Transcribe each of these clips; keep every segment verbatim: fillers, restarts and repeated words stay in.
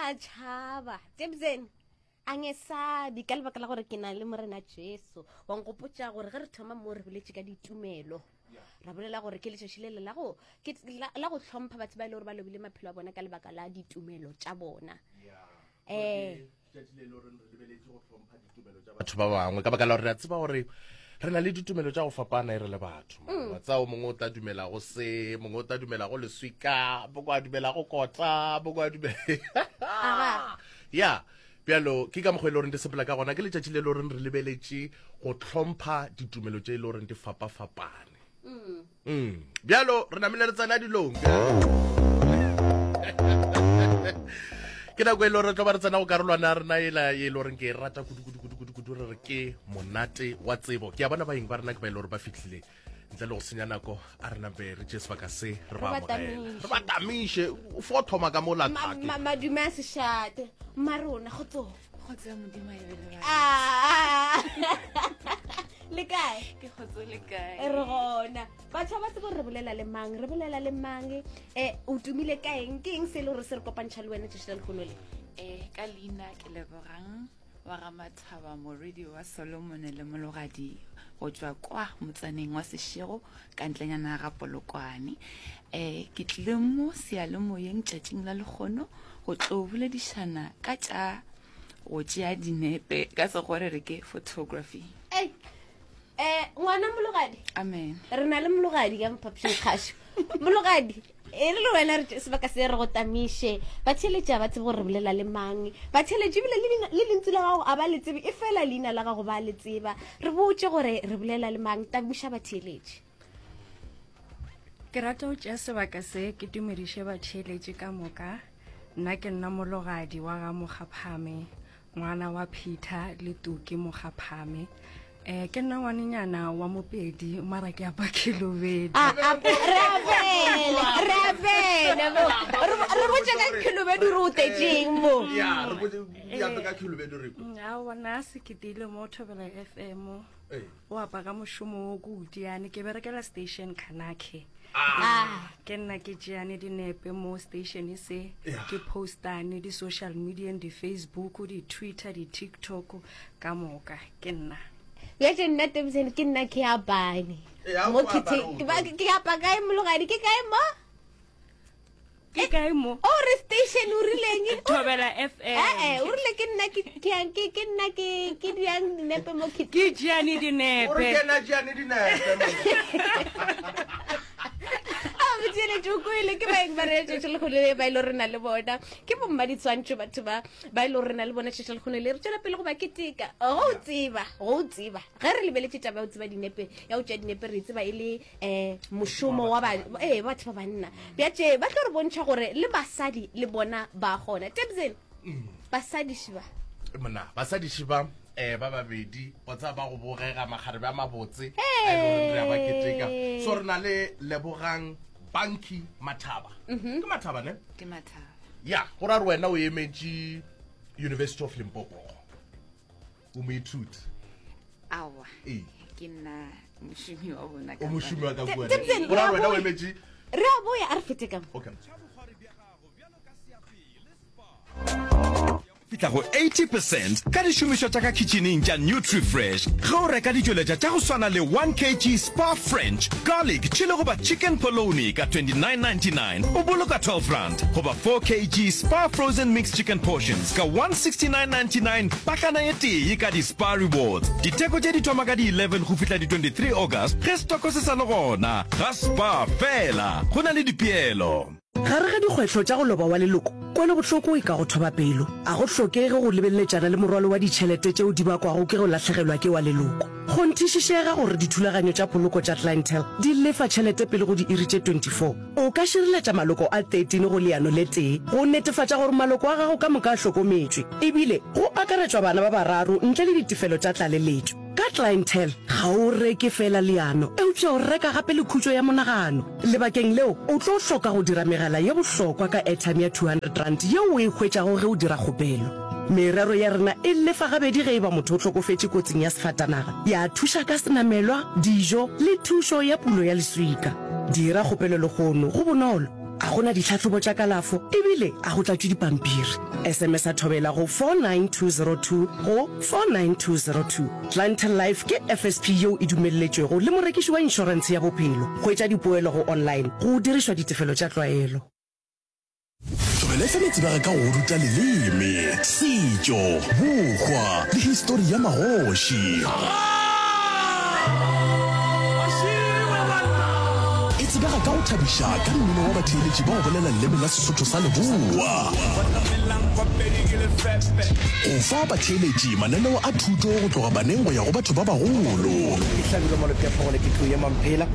sa tšhaba Tebzen angesabi ka lebaka la gore ke na le morena Jesu wa nkgopotša gore ge re thoma mo re boletše ka ditumelo ra bolela gore ke letšatši le le la go ke la la go hlompha batho ba e le gore ba lobile maphelo a bona ka lebaka la ditumelo tša bona eh batho ba bangwe ka baka la gore re a tseba gore re na le ditumelo tša go fapana e re le batho mm. wa tseba o mongwe o tla dumela go se mongwe o tla dumela go leswika bongwe a dumela go kota bongwe a dumela ya bjalo ke ka mokgwa e le goreng di sepela ka gona ke letšatši le le goreng re lebeletše go hlompha ditumelo tše e le goreng di fapafapane mm. mm. bjalo re namile re tsena dilong ke nako e le gore re tlo ba re tsena go karolwana ya rena ela e le goreng ke e rata kudu-kudu-kudu-kudu re re ke monate wa tsebo ke a bona baeng ba rena ke ba e le gore ba fitlhile ntle le go senya nako a re nampe re tšee sebaka se re ba amogele re ba tamiše o fo thoma ka mo lathake madume a sešate mmarona go tso kgotso ya modimo a ebe le ah. le kae ke kgotso le kae re gona batho ba tsebo re bolela le mang re bolela le mang um o tumile ka eng ke eng se e le gore se re kopantšha le wena tšatši la lehono le um ka leina ke lebogang wa ga Mathaba morwedi wa Solomone le Mologadi go tšwa kwa motsaneng wa Seshego ka ntlenyana ga Polokwane. Um ke tlile mo seyalemoyeng tšatšing la lekgono go tlo boledišana ka tša go tšea dinepe ka sekgowa re re ke photography. Ei, eh ngwana mologadi amen re na le mologadi ka mophapošing kgašo mologadi e re le wena re sebaka se re go tamiše ba theletša ba tsebe gore re bolela le mang ba theletše ebile le lentsu la gago a ba le tsebe e fela leina la gago ba le tseba re botše gore re bolela le mang tamiša ba theletše ke rata go tšea sebaka se ke tumediše batheeletše ka moka nna ke nna mologadi wa ga mogaphame ngwana wa Peter le Tuki Mogaphame. Eh ke nna ngwanenyana wa Mopedi mara ke apa Khelobedu. A a re a bele re a bele mo re botse ka Khelobedu re o tetseng mo. Ya re botse ya ka Khelobedu re. Mm, a bona se ke tile mo Thobela F M. O apa ka mošomo o ko Utiane ke berekela station Khanakhe. Ah. Ke nna ke tšeane dinepe mo station se ke postane di social media di Facebook di Twitter di TikTok ka moka ke nna. Bjale nna Tebsen ke nna ke apane. Mo ke apa kae mologadi ke kae mo? Ke kae mo? O re station o rileng? Thobela F M. Eh eh, o rile ke nna ke ke ke ke nna ke ke diang dinepe mo ke. Ke tšeane dinepe. O re ke nna tšeane dinepe. A botšeletše o kwele ke baeng ba re tšatši lekgono le ba ile re na le bona. Ke bomma ditshwantšho batho ba ba ile re na le bona tšatši lekgono le re tšwela pele go ba keteka. Go o tseba, go o tseba. Ge re lebeletše taba ya go tseba dinepe, ya go tšea dinepe re tseba e le eh mošomo wa ba eh batho ba banna bjatše ba tlo re bontšha gore le basadi le bona ba gona Tebzen mm. basadi šiba mona basadi šiba eh ba babedi wa tsaba ba go bogega magarebe a mabotse a e leng re ba keteka so re na le lebogang banki mathaba mhm. ke mathaba ne ke mathaba ya go ra re wena o emetše University of Limpopo o moithuti aowa ee ke nna mošomi wa bona o mošomi wa ka kua Tebsen, go ra re a wena o boya. emetše re a boya a re fete ka mo okay fihla go eighty percent ka dišomišwa tša ka khitšhining tša Nutrifresh ge o reka ditšweletša tša go swana le one kg Spar French garlic chili goba chicken polony ka twenty-nine ninety-nine o boloka twelve rand goba four kg Spar frozen mixed chicken portions ka one sixty-nine ninety-nine pakana ye tee ka di-Spar Rewards. Ditheko tše di thoma ka di eleven go fihla di twenty-three August ge stoko se sa le gona ga Spar fela. Go na le dipeelo. Gare ga dikgwetlho tša go loba wa leloko, kwelobohloko e ka go thoba pelo. A go hlokege go lebeleletšana le morwalo wa ditšhelete tšeo di bakwago ke go lahlegelwa ke wa leloko. Kgonthišišega gore dithulaganyo tša poloko tša Clientele di lefa tšhelete pele go diiri tše twenty-four. O ka šireletša maloko a thirteen go leano le tee go netefatša gore maloko a gago ka moka a hlokometšwe, ebile go akaretšwa bana ba bararo ntle le ditefelo tša tlaleletšo. Ka Clientele, ga o reke feela leano, eupša o reka gape le khutšo ya monagano. Lebakeng leo, o tlo hloka go dira megala ye bohlokwa ka airtime ya two hundred rand yeo o e hwetšago ge o dira kgopelo. Merero ya rena e lefa gabedi ge e ba motho o hlokofetše kotsing ya sefatanaga, ya thuša ka senamelwa, dijo le thušo ya pulo ya leswika. Dira kgopelo lehono, go bonolo. A go na ditlhahlobo tša kalafo ebile a go tlatšwe dipampiri. S M S a Thobela go four nine two zero two go four nine two zero two. Clientele Life ke F S P yeo e dumelletšwego le morekiši wa inšorentshe ya bophelo. Hwetša dipoelo go online go dirišwa ditefelo tša tlwaelo. Thobela F M e tsebega ka go ruta leleme, setšo, bohwa le histori ya magoši. E tsebega ka go thabiša ka mmino wa batheeletši ba go bolela leleme la Sesotho sa Leboa. Go fa batheeletši mananeo a thuto go tloga baneng go ya go batho ba bagolo.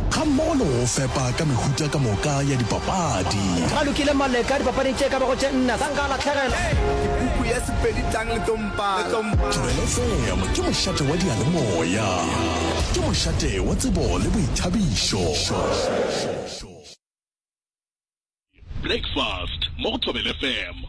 Gammogo le go fepa ka mehuta ka moka ya dipapadi. Ga lokile Maleka dipapading tše ka bago tše nne sa nka lahlegela. Puku ya Sepedi tlang le tompana. Thobela F M ke mošate wa diyalemoya. Ke mošate wa tsebo le boithabišo. Breakfast mo go Thobela F M.